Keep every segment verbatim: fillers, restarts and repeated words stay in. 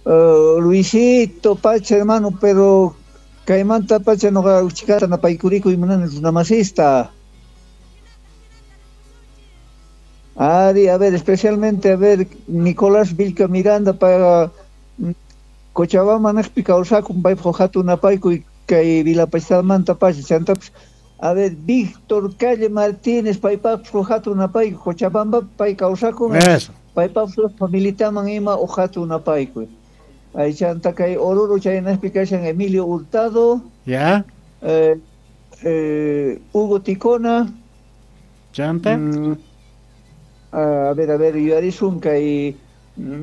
Uh, Luisito, pacha, hermano, pero kaymanta pacha noqa uchikata napaykurikuy munani runamasista. Ari, a ver, especialmente, a ver, Nicolás Vilca Miranda para Cochabamba naqpi kawsakun paypaq hatun napaykuy kay Vilapachtamanta pacha chantapis. A ver, Víctor Calle Martínez paypaqpis hatun napaykuy Cochabamba pay kawsakun paypaqpis familitaman ima hatun napaykuy. Ahí chanta kay Oruro chaynaqpi kashan Emilio Hurtado. Ya. Eh, eh, Hugo Ticona. Chanta. Mm, a ver, a ver, yuyarisun kay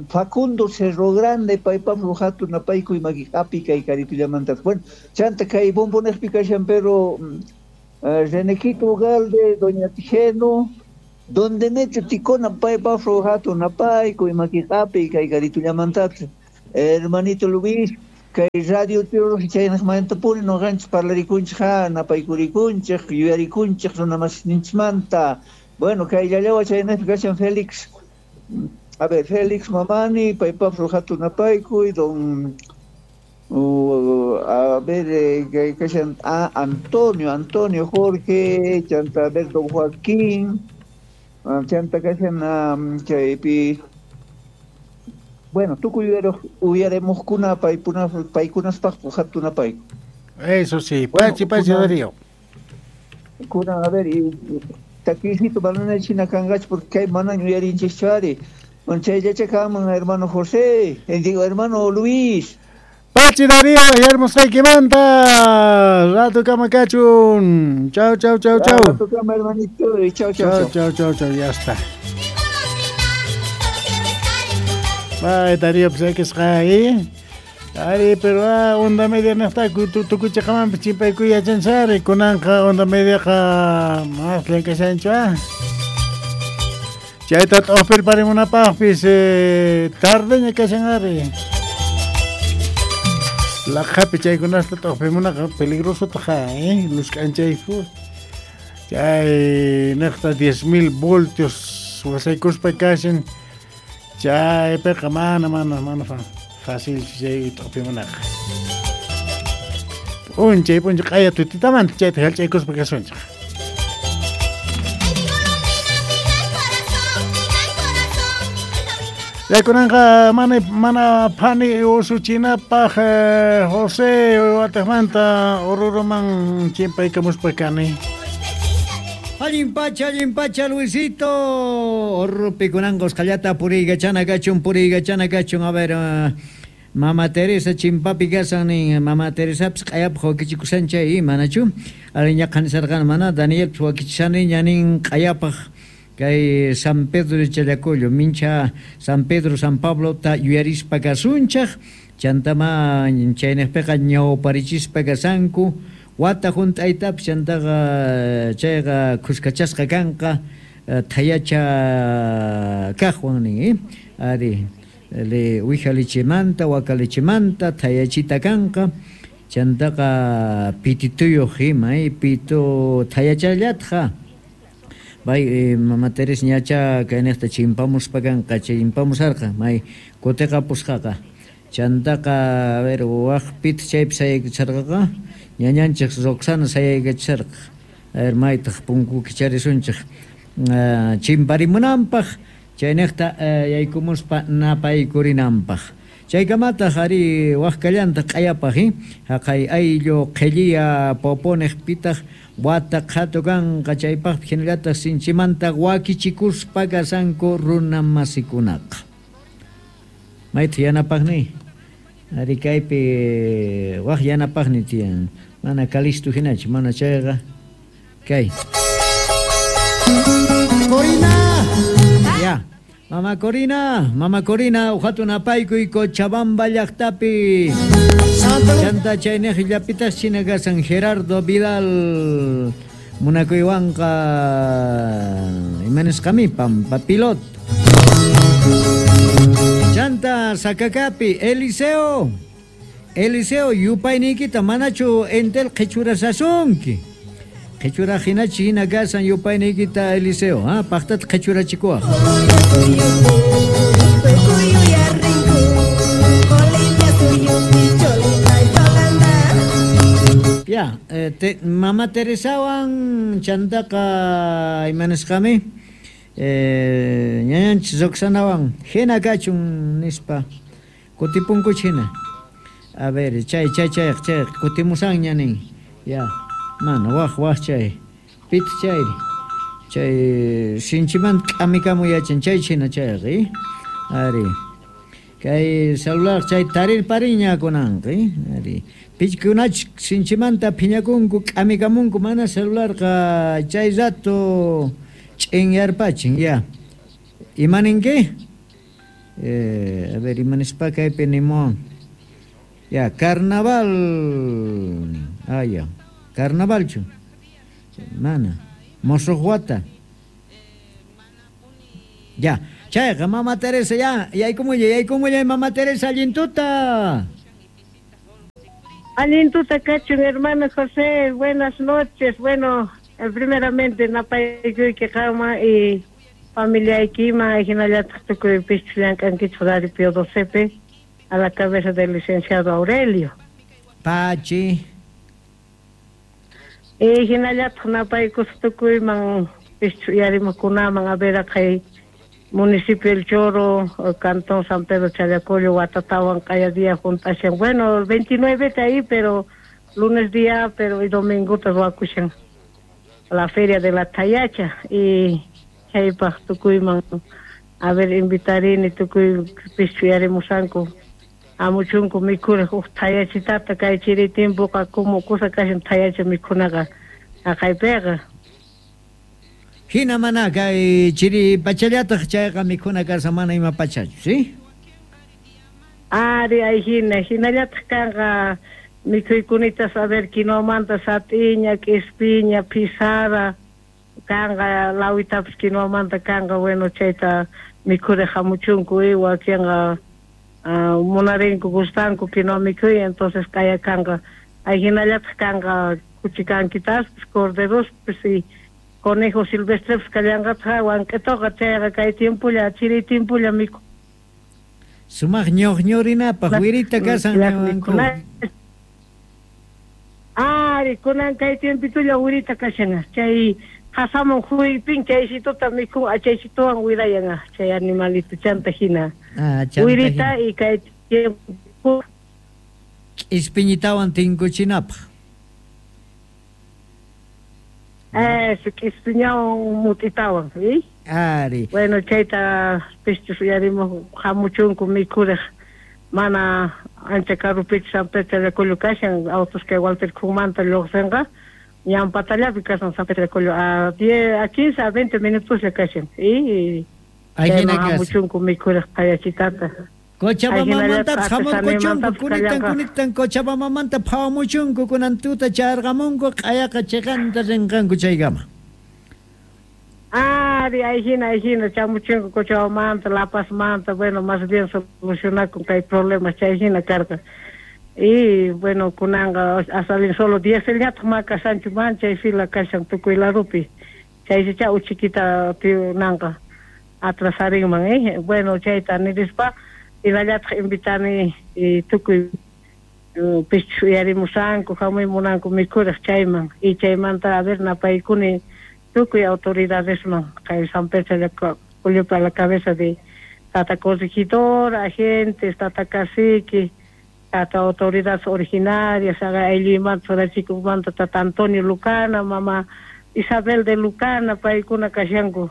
Facundo Cerro Grande, paypaq hatun napaykuy maki api kay karitullamantas. Bueno, chanta kay bombonejpi kashan pero uh, Renequito Ugalde, Doña Tijeno, Don Demetrio Ticona, paypaq hatun napaykuy maki api kay karitullamantas. Hermanito Luis, kay radio chaynaqmantapuni noqanchis parlarikunchik ha, napaykurikunchik, yuyarikunchik runamasninchikmanta. Bueno, kay llallawa chaynaqpi kashan Félix, a ver, Félix Mamani, paypaq hatun napaykuy, don uh, a ver, eh, kashan ah, Antonio, Antonio Jorge, chanta a ver, don Joaquín, chanta kashan um, chaypi. Bueno, tukuy uyaremujkuna paykuna paykunaspaq hatun napaykuy. Eso sí, pachi pachi Darío. Kuna, a ver, y takisito manana china kanqach porque kay mana yuyarinchikchu ari. Bueno, chayllachakaman hermano José, eh, digo hermano Luis. Pachi Darío, yarmusqaykimanta. Rato kama kachun. Chau, chau, chau, chau. Rato kama hermanito, chau, chau, chau, chau, chau, ya está. Ay, Darío, pues hay que estar. Ari, pero ah, onda media no está, tukuchaqamanpis chimpaykuy yachansari, kunanqa onda mediaqa más llank'ashanchu ah. Chayta t'uqpirparimunapaqpis eh, tardeña kashan ari. Laqhapi chaykunasta t'uqpimunaqa peligrosotaq eh, luz k'anchayku. Chay niqta diez mil voltios wasaykuspa kashan. Chaypiqa mana mana mana fácil chay t'uqpimunaqa. P'unchay p'unchay q'aya tutitamanta chayta hallch'aykuspa kasunchik. Kunanqa mana mana phani usuchinapaq eh, José wataqmanta Oruroman chimpaykamuspa kani. Allin pacha, allin pacha, Luisito. Orrupi kunanqa usqhallata puriykachana kachun, puriykachana kachun. A ver, uh, Mama Teresa chimpapi kasan nin, Mama Teresapis q'ayapaq wakichikushan chay, manachu? Ariñaqa nisarqani mana, Danielpis wakichishaniña nin q'ayapaq kay San Pedro de Challacollo, mincha San Pedro, San Pablo ta yuyarispa kasunchaq, chantama chaynaqpiqa ñawparichispa kasanku, wata hunt'aytapis chantaqa chayqa khuskachasqa kanqa thayacha kaqwan nin, eh? Ari, le wija lichimanta, waka lichimanta, thayachita kanqa, chantaqa pitituyuq ima, eh? Pito thayachallatqa. Bay eh, Mama Teresa ñacha kaynaqta chimpamuspa kanqa, chimpamusarqa, may kutiqapusqaqa. Chantaqa, a ver, waq pit chaypi sayaykachisarqaqa, ñañanchik Roxana sayaykachisarqa. A ver, maytaq punku kicharisunchik. Uh, chimparimunanpaq, chaynaqta uh, yaykumuspa napaykurinanpaq. Chaykamataq ari waqkallanta q'ayapaq, eh? Haqay ayllu qhilliya poponiq pitaq wata qhatu kanqa chaypaqpi hinallataq sinchimanta wakichikuspa kasanku runa masikunaqa. Maytaq yanapaqni? Ari kaypi waq yanapaqni tiyan. Mana Calisto hinachu, mana chayqa kay. Corina! Ya. Mama Corina, Mama Corina, uhatun apaykuy Cochabamba llaqtapi. Chanta chaynaq llapitas china kasan Gerardo Vidal munakuywanqa imanisqami Pampa Pilot. Chanta Sacacapi Eliseo, Eliseo yupayniykita manachu entel qhichurasasunki. Qhichura hinachi hina kasan yupayniykita Eliseo, ha paqtata qhichurachikuwaq. Ya, eh, te, Mama Teresawan chantaqa imanisqami eh, ñañanchis Roxanawan hina kachun nispa kutipunkuch hina. A ver, chay chay chay chay kutimusanña nin. Ya, mana waj waj chay pit chay chay sinchimanta k'amikamu yachan chay china chayqa eh? Ari kay celular chay tarir pariña kunanqa eh? Ari pichkunach sinchimanta phiñakunku k'amikamunku mana celularqa chay rato ch'inyarpachin ya. Imaninki? Eh, a ver, imanispa kaypi nimuwan. Ya, carnaval. Ah, ya. Carnavalchu. Mana. Mosojuata. Ya. Chayqa Mama Teresa ya. Yaykumullay, yaykumullay Mama Teresa allintuta. Allintuta kachun, hermano José, buenas noches. Bueno, eh, primeramente napaykuyki qama y familiaykima hinallataq tukuy pichus llank'ankichik Radio Pío doce a la cabeza del licenciado Aurelio. Pachi. Y hinallataq napaykus tukuyman pichus uyarimuqkunaman a ver kay municipio El Choro, cantón San Pedro Challacollo, Huatatawan, q'aya día junt'ashan. Bueno, el veintinueve está ahí, pero lunes día, pero y domingo te ruwakushan la feria de la Tayacha y chaypaq tukuyman a ver invitarini tukuy pichu uyarimusanku amuchunku mikhuriq uj thayachitata kay chiri tiempoqa como kusa kashan thayacha mikhunaqa haqaypiqa. Hina mana kay chiri pachallataq chayqa mikhuna kashan mana ima pachachu, ¿sí? Ari ay hina hinallataq kanqa mikhuykunita a ver quinoamanta sat'iña, k'ispiña, pisara kanqa lawitapas quinoamanta kanqa, bueno chayta mikhuriq hamuchunku y wakinqa uh, munarinku gustanku quinoa mikhuy, entonces kaya kanqa ay hinallataq kanqa kuchikankitaspas, corderospis y conejo silvestres kallanqataq wank'itoqa chayqa kay tiempolla chiri tiempolla mikhu. Sumaq ñuqñurinapaq wirita kasan niwanku. Ari kunan kay tiempitulla wirita kashan chay qasamun huypin chaysituta mikhun achaysituwan wirayan chay animalito chanta hina. Ah, chanta wirita y kay tiempo k'ispiñitawan tinkuchinapaq. Eso, k'ispiñawan mut'itawan, ¿sí? Ari. Bueno, chayta pichus uyarimuq hamuchunku mikhuriq mana ancha karupichu San Pedro Challacollo kashan autos kay Walter Khumanta lluqsinqa ñan patallapi kashan San Pedro Challacollo a diez, a quince, a veinte minutos ya kashan y chayman hamuchunku mikhuriq thayachitata. Cochabambamantapas hamurquchunku kunitan kunitan Cochabambamanta phawamuchunku kunan tuta charqamunku q'ayaqa chiqanta rinqanku chaykama. Ari ay hina ay hina chamuchunku Cochabambamanta, La Pazmanta, bueno, más bien solucionakun kay problemas chay hina karqa. Y bueno, kunanqa hasta bien solo dieselñataq ma kashanchu man chay fila kashan tukuy ladupi. Chaysicha uchikita tiunanqa atrasarinman, eh. Bueno, chayta nirispa hinallataq invitani y tukuy pichus uyarimusanku hamuy munanku mikhuriq chayman y chaymanta a ver napaykuni tukuy autoridadesman kay San Pedro Challacollopi a la cabeza de tata corregidor, agentes, tata cacique, tata autoridades originarias, aylluymanta surachikumanta tata Antonio Lucana, mama Isabel de Lucana, paykuna kashanku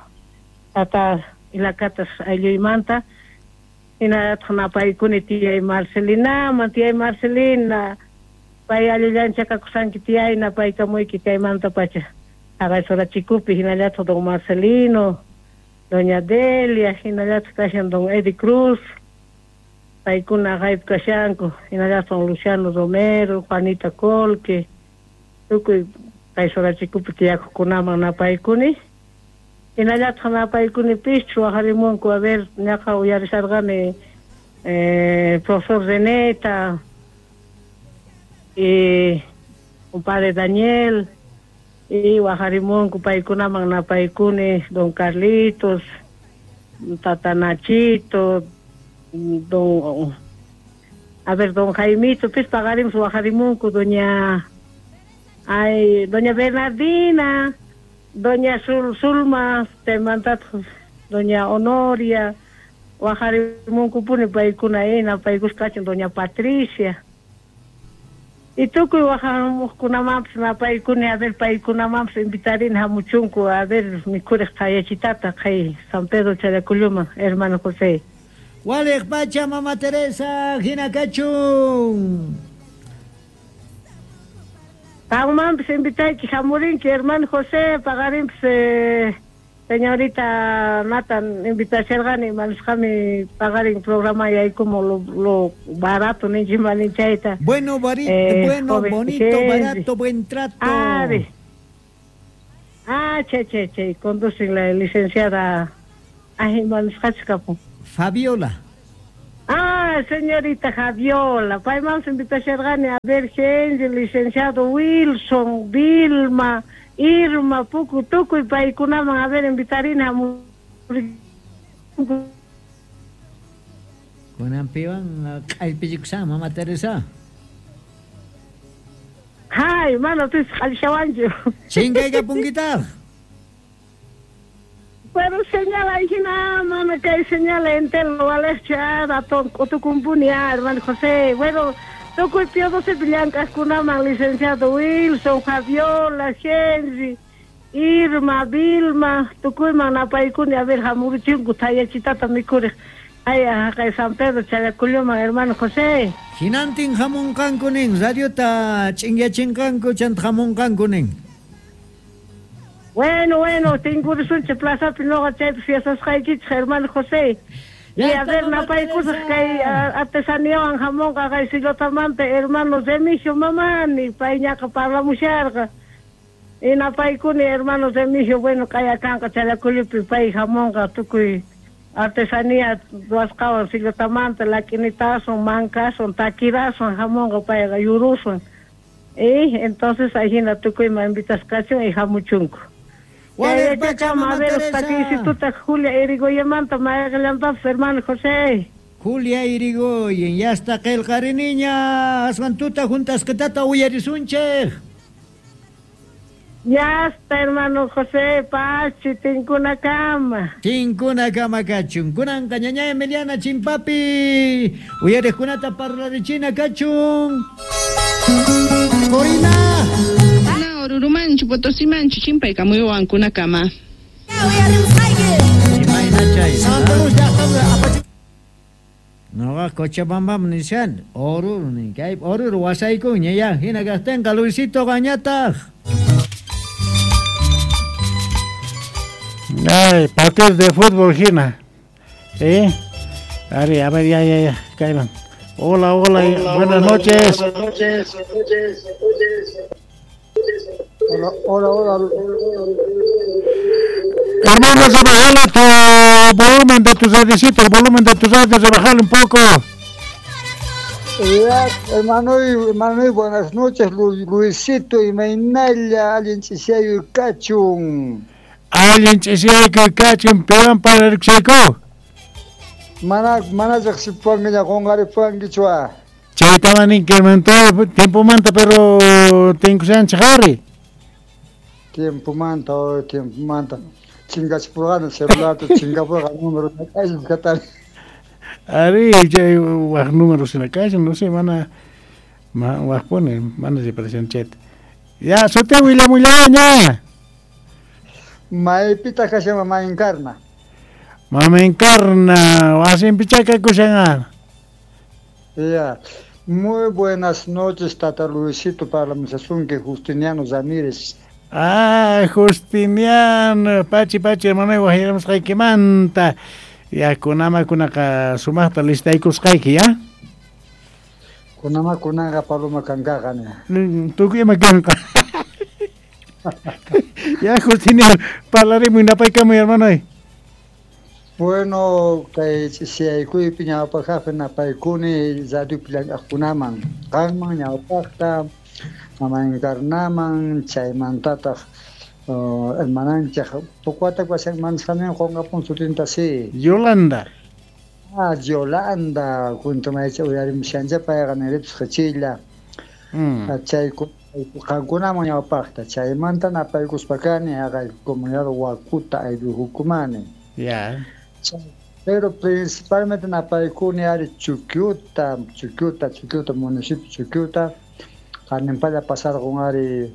tata Ilakatas aylluymanta. Hinallataq napaykuni tiyay Marcelinaman, tiyay Marcelina, pay allillancha kakusanki tiyay napaykamuyki chaymanta pacha haqay Surachikupi hinallataq don Marcelino, doña Delia, hinallataq kashan don Eddie Cruz, paykuna haqaypi kashanku, hinallataq don Luciano Romero, Juanita Colque, tukuy kay Surachikupi tiyakuqkunaman napaykuni. Hinallataq napaykuni pichu waqarimunku a ver ñaqa uyarisharqani eh, profesor Reneta y compadre Daniel y waqarimunku paykunaman napaykuni don Carlitos, tata Nachito, don a ver don Jaimito, pis paqarimus waqarimunku doña Ay, doña Bernardina, doña Zul, Zulma, chaymantataq doña Honoria, wajarimunkupuni paykuna napaykusqachun doña Patricia. Y tukuy wajarimuqkunamanpis napaykuni, a ver paykunamanpis invitarin hamuchunku, a ver mikhuriq thayachitata kay San Pedro Challaculluman, hermano José. Waliq pacha mama Teresa, hina kachun. Qanmanpis invitayki hamurinki, hermano José, paqarinpis eh, señorita Nathan invitasharqani, manisqami paqarin programa yaykumu lo, lo barato ninchimani chayta. Bueno, bari, eh, bueno, joven bonito, Henry. Barato, buen trato. Ah, de. Ah, che, che, che, conducen la licenciada. Ay, manisqachkapu. Fabiola. Ah, señorita Javiola, paymanpis invitasharqani a ver Henry, licenciado Wilson, Vilma, Irma, Puku, tukuy paykunaman a ver invitarina Kunanpiwan q'allpichikushan mama Teresa. Hay, mana pis q'allishawanchu. Chinkaykapunkitaj. Pero señala hina, mana kay señala entero walejcha raton k'utukumpuni hermano José. Bueno, tukuy Pío doce llank'aqkunaman licenciado Wilson, Javiola, Henry, Irma, Vilma, tukuyman napaykuni a ver hamurichinku thayachitata mikhuriq. Ay, haqay San Pedro Challaculluman, hermano José. Hinantin hamunqanku nin, radiota ch'inyachinqanku chanta hamunqanku nin. Bueno, bueno, tinkurisunchik plazapi noqa chaypi fiestasqaykichik, hermano José. Y a ver, napaykusaq kay artesaniawan hamunqa kay Sillotamanta hermano Remigio Mamani, payñaqa parlamusharqa. Y napaykuni hermano Remigio, bueno, k'ayakanqa Challacullupi pay hamunqa tukuy artesanía ruwasqawan Sillotamanta, lakinitasun, mankasun, takirasun hamunqa payqa yurusun. Y entonces ahina tukuyman invitasqachun y hamuchunku. Waliq pacha mama A ver, Teresa. Instituta Julia Irigoyemanta mayqillantapas, hermano José. Julia Irigoyen, ya está qillqariniña, aswan tuta juntasqitata uyarisunchik. Ya está, hermano José, pachi, tinkunakama. Tinkunakama kachun. Kunanqa ñaña Emiliana chimpapi, uyariqkunata parlarichina kachun. Corina. Ana Orurumanchu, Potosimanchu, chimpaykamuywankunakama. Imayna chay. Noqa Cochabambam nishan, Oruro nin, kay Oruro wasaykunña ya, hina kaqtinqa Luisito qañataq. Ay, partido de fútbol, hina. ¿Eh? Ari, a ver, ya, ya, ya, caigan. Hola, hola, hola, buenas hola, noches. Buenas noches. Hola, hola, hola. Hermano, rebajale tu volumen de tu radiocito, el volumen de tu radio, rebajale un poco. Ya, hermano, hermano, buenas noches, Lu, Luisito y Mainalla, alguien chishayo y cachun. Alguien chishayo y cachun, peón para el chico. Mana, mana riqsipuankiña qunqaripuankichwa. Chaytaman ninki, tiempo manta, pero tinkushanchik ari. Tiempo manta, oh, tiempo manta. Chingachipurqani celularta, chingapurqa número katari. Ari, chay waq número sinakashan, no sé, mana ma waqpuni, mana riparashan chayta. Ya, suti willamullaña. Maypitaq kashan mama Encarna. Mama Encarna, wasinpichá kakushan. Ya. Muy buenas noches, Tata Luisito, para Misasunque, Justiniano Ramírez. Ah, Justiniano, pachi, pachi, hermano, wajiramusqaykimanta. Ya, kunama kunaqa sumaqta listaykusqayki, ya? Kunama kunaqa paloma kankaqa, ne. Tukuy ima kanqa. Ya, Justiniano, parlarimuy napaykamuy, hermano. Bueno, kay ch'isiyaykuypi ñawpaqqa napaykuni radiopi llank'aqkunaman, qanman ñawpaqta, mama Encarnaman, chaymantataq hermananchik pukwata pashanman qunqapun sutinta si. Yolanda. Ah, Yolanda, kuntumaycha uyarimushancha payqa niripis qhichilla. Mm. Chay Qankunaman ñawpaqta chaymanta napaykuspa kani haqay comunidad Wakuta aylluhukumani. Ya. Pero principalmente napaykuni ari Chuquiuta, Chuquiuta, Chuquiuta, municipio Chuquiuta, qanimpalla pasarqun ari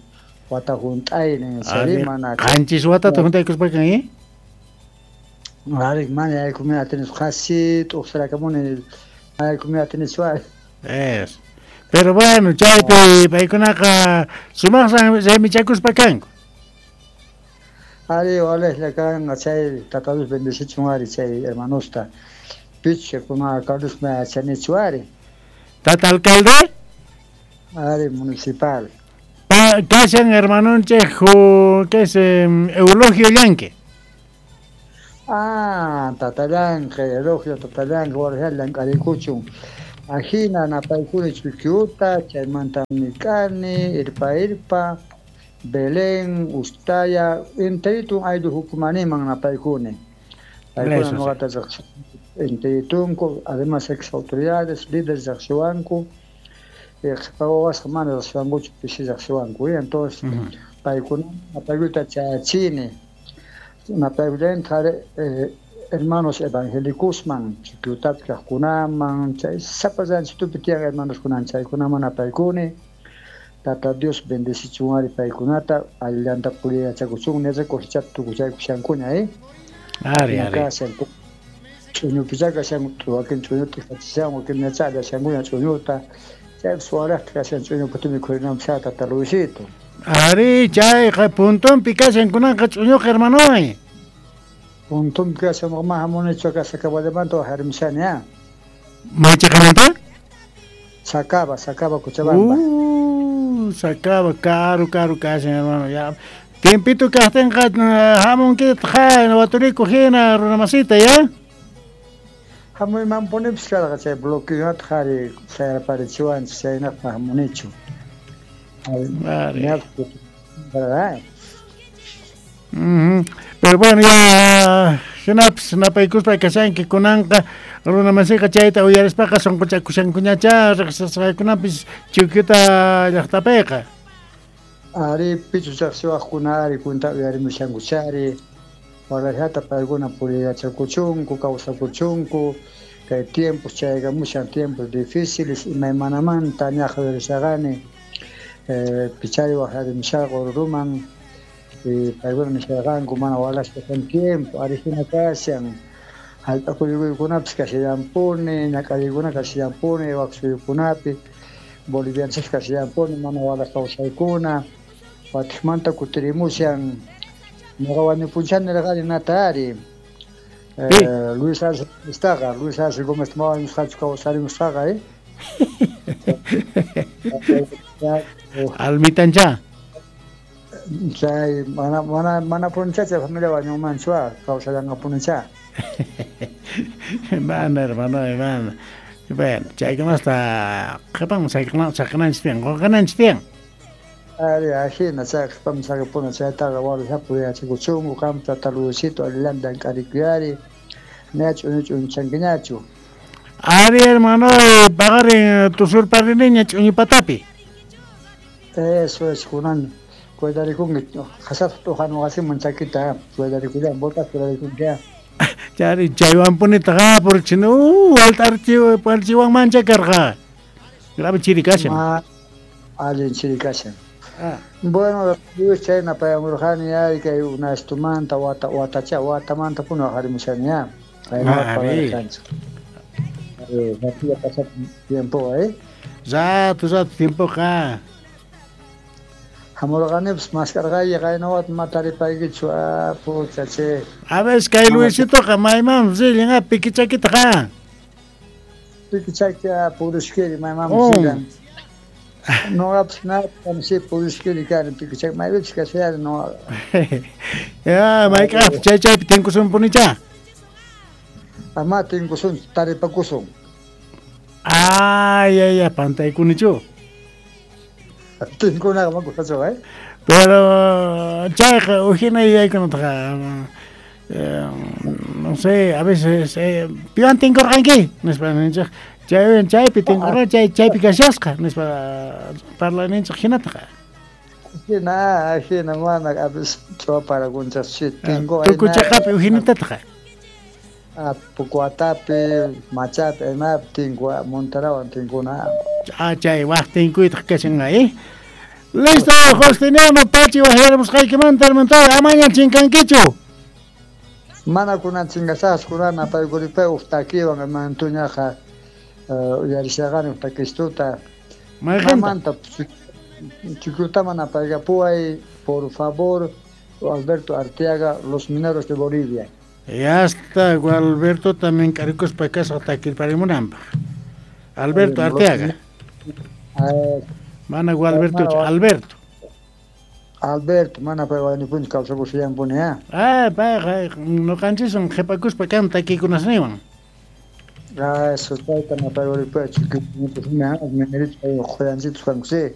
wata hunt'aynin, chayri mana. Qanchis watata hunt'aykuspa kan, Ari mana yaykumi atinichu qasi t'uqsirakamuni yaykumi atinichu ari. Es. Pero bueno, chaypi paykunaqa sumaqsan raymichakuspa kanku. Ari walejlla kanqa chay Tata Dios bendecichun ari chay hermanosta. Picha kuna Carlos me yachanichu ari. Tata alcalde? Ari municipal. Pa, kashan hermanonchej que es eh, Eulogio Llanque. Ah, Tata Llanque, Eulogio Tata Llanque, walejlla llank'arikuchun. Ajina napaykuni Chuquiuta, chaymanta Mikani, Irpa Irpa, Belén, Ustaya, enteritun ayllu hukumaniman napaykuni. Paykuna noqata enteritunku, además ex autoridades, líderes riqsiwanku, qhipa wawasqa mana riqsiwankuchu, pisi riqsiwanku. Entonces, paykuna napaykuyta chayachini, napaykullanta hermanos evangélicosman, Chuquiutapi kaqkunaman, chay sapa ranchitupi tiyan hermanoskunan chaykunaman napaykuni. Tata Dios bendecichun ari paykunata, allanta puriyachakuchun, nirqa cosechata tukuchaykushankuña, eh? Ari, ari. Ch'uñupicha kashan, wakin ch'uñuta kachishan, wakin ñachalla shankuña ch'uñuta, chaypi suwaraqta kashan ch'uñupata mikhurinanpis Tata Luisito. Ari, chayqa puntonpi kashan kunanqa ch'uñuqa hermanoy. Puntonpi kashan, ma hamunichu acá Sacaballamanta waqarimushani, ah. Maychaqamanta? Sacaba, Sacaba, Cochabamba. Uh, Sacaba, caro, caro kashan, hermano, ya. Tiempito kaqtinqa hamunkitaq waturiku hina runamasita, ya? Hamuymanpunipis karqa chay bloqueonataq ari sayarparichiwanchik chaynaqpa hamunichu. Ari. Mm-hmm. Pero bueno, ya hinapis napaykuspa kashanki kunanqa runamasiqa chayta uyarispaqa sunquchakushankuñacha riqsisqaykunapis Chuquiuta llaqtapiqa. Ari pichu riqsiwaqkuna ari kunta uyarimushankuchari walajata paykuna puriyachakuchunku kawsakuchunku kay tiempos chaykamushan tiempos difíciles imaymanamanta ñaqa uyarishaqani eh, pichari waqarimushaqa Oruruman paykuna nisharqanku mana walashpa kan tiempo ari hina kashan hallp'a kuyukuykunapis kashallampuni ñak'ariykuna kashallampuni wak suyukunapi bolivianchis kashallampuni mana walash kawsaykuna watiqmanta kutirimushan ñuqa wañupunchani nirqani nata ari eh, Luis Arce Gómeztaqa Luis Arce Gómez ma wañusqachu kawsarimusqaqa eh Almitancha chay mana mana mana puncha chay familia wañunmanchu kawsallanqapunicha. Mana hermano, mana. Bueno, chaykunasta qhipaman saqinanchik tiyan, qunqananchik tiyan. Ari, ajina chay qhipaman saqipuna chaytaqa walejlla puriyachakuchunku qam Tata Luisito allillanta llank'arikuyari ñachu ch'uñuchankiñachu. Ari hermano, paqarin tusurpariniña ch'uñupatapi. Eso es, kunan cuidarikunki qasata t'uqan wasiman chakita cuidarikullan botas cuidarikunki. Chari chaywanpunitaqa purichini uh alt'archiwanmancha karqa. Grave chiri kashan. Allin chiri kashan. Bueno, Luis chayna payamurqani ari kay unastumanta wata watacha watamanta puni waqarimushani ya. Ari. Pasap tiempo eh. Rato rato tiempoqa. Hamurqanipis maskarqay qaynawat mataripaykichu ah pucha che. A ver, kay Luisitoqa maymanmi rillan pikichakitaqa. Pikichaki purishkiri maymanmi rillan. Noqapis nada si purishkiri kani pikichaki maypichus kashayani noqa. Ya, mayk'aqpis chay chaypi tinkusunpunicha. Ama tinkusun taripakusun. Ay, ay, ay, pantaykunichu. Tinkunaqa makusachu, eh? Pero chayqa ujina yuyaykunataqa no sé, a veces eh, piwan tinkurqanki nispa ninchik chay chaypi tinkurqa chay chaypi kashasqa nispa parlayninchik hinataqa. Ajina, ajina, mana a veces ch'uwaparakunchas tingu Tukuchaqapi ujinitataj. Ah, Pucuatapi, Machapi, imapi tinku, Montarawan tinkuna. Ah, chay waj tinkuytaj kashan eh. Listo, Justiniano Pachi wajyaramusqaykimanta hermantawa amaña chinkankichu. Mana kunan chinkasaqchu kunan napaykuripay uj takiwan hermantuñaqa uyarishaqani uj takistuta. Mayqenta? Mamanta Chukutaman napaykapuway, por favor, Alberto Arteaga, Los Mineros de Bolivia. Ya está, Alberto también karikuspa kasqa takirparimunanpaq. Alberto Arteaga. Mana Gualberto, Alberto. Alberto, mana pay wañupunchu kawsakushallanpuni, ah. Ah, payqa ñuqanchiswan qhipakuspa kan takikunasniwan. Ah, eso chayta napaykuripay, chukutaman mineritos quyanchitos kanku, sí.